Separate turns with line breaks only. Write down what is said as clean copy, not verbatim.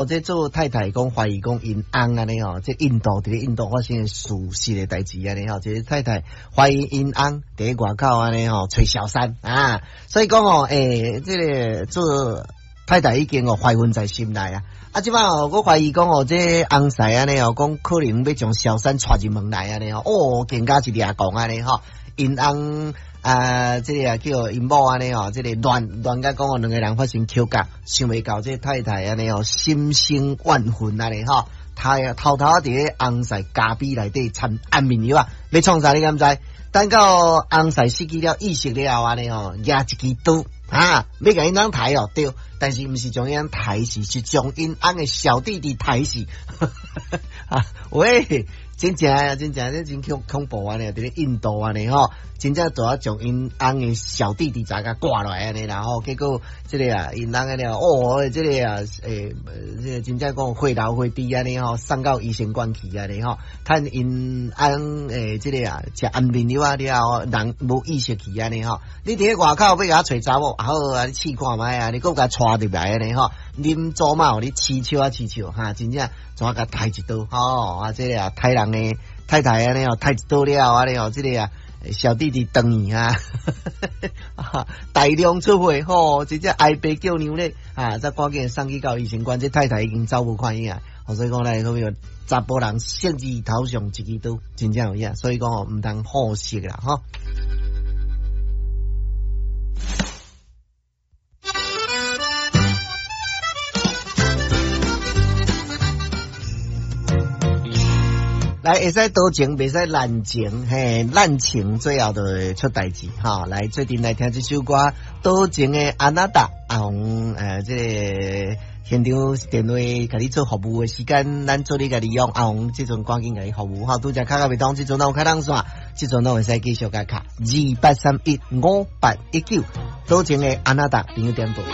這做太太講懷疑講𪜶翁按呢吼，這印度佇咧印度發生的事實的代誌按呢吼，這個太太懷疑𪜶翁佇咧外口按呢吼揣小三啊，所以講吼，這個做太太已經哦懷恨在心內啊，啊，這擺哦，閣懷疑講哦，這翁婿按呢哦，講可能欲將小三帶入門來按呢吼，哦，更加是掠狂按呢吼，𪜶翁啊，這個啊叫𪜶某按呢吼，這個亂亂共講哦，兩个人發生口角，想袂到這太太按呢吼，心生怨恨按呢吼，他偷偷佇咧翁婿咖啡內底摻安眠藥啊，欲創啥你敢知？等到翁婿失去了意識了後按呢吼，舉一支刀啊，欲共𪜶翁刣哦，對，但是毋是將𪜶翁刣死，是將𪜶翁的小弟弟刣死。啊，喂，真正啊，真正這真恐恐怖按呢，佇咧印度按呢吼，真正就啊將𪜶翁的小弟弟共割落來按呢，然後結果這個啊，𪜶翁按呢，哦，這個啊，這個真正講血流血滴按呢吼，送到醫生館去按呢吼，趁𪜶翁這個啊，食安眠藥啊了後，人無意識去按呢吼，你佇咧外口欲共揣查某，好啊，你試看覓啊，你閣共帶入來按呢吼，恁祖媽予你飼笑啊飼笑，哈，真正怎共刣一刀，吼，啊，這個啊，刣人的太太按呢吼，刣一刀了後按呢吼，這個啊，小弟弟轉去啊，大量出血吼，真正哀爸叫娘咧，啊，才趕緊送去到醫生館，這太太已經走無看影啊，所以講來好比查埔人色字頭上一支刀，真正有影，所以講吼，毋通好色啦，吼。來，會使多情，袂使濫情，嘿，濫情最後就會出代誌，哈。來，做陣來聽這首歌，多情的阿娜達，阿紅，這個現場電話共你做服務的時間，咱做你共利用，阿紅這陣趕緊共你服務，哈。拄才卡較袂通，這陣攏有開通線，這陣攏會使繼續共卡，28315819，多情的阿娜達，朋友點播。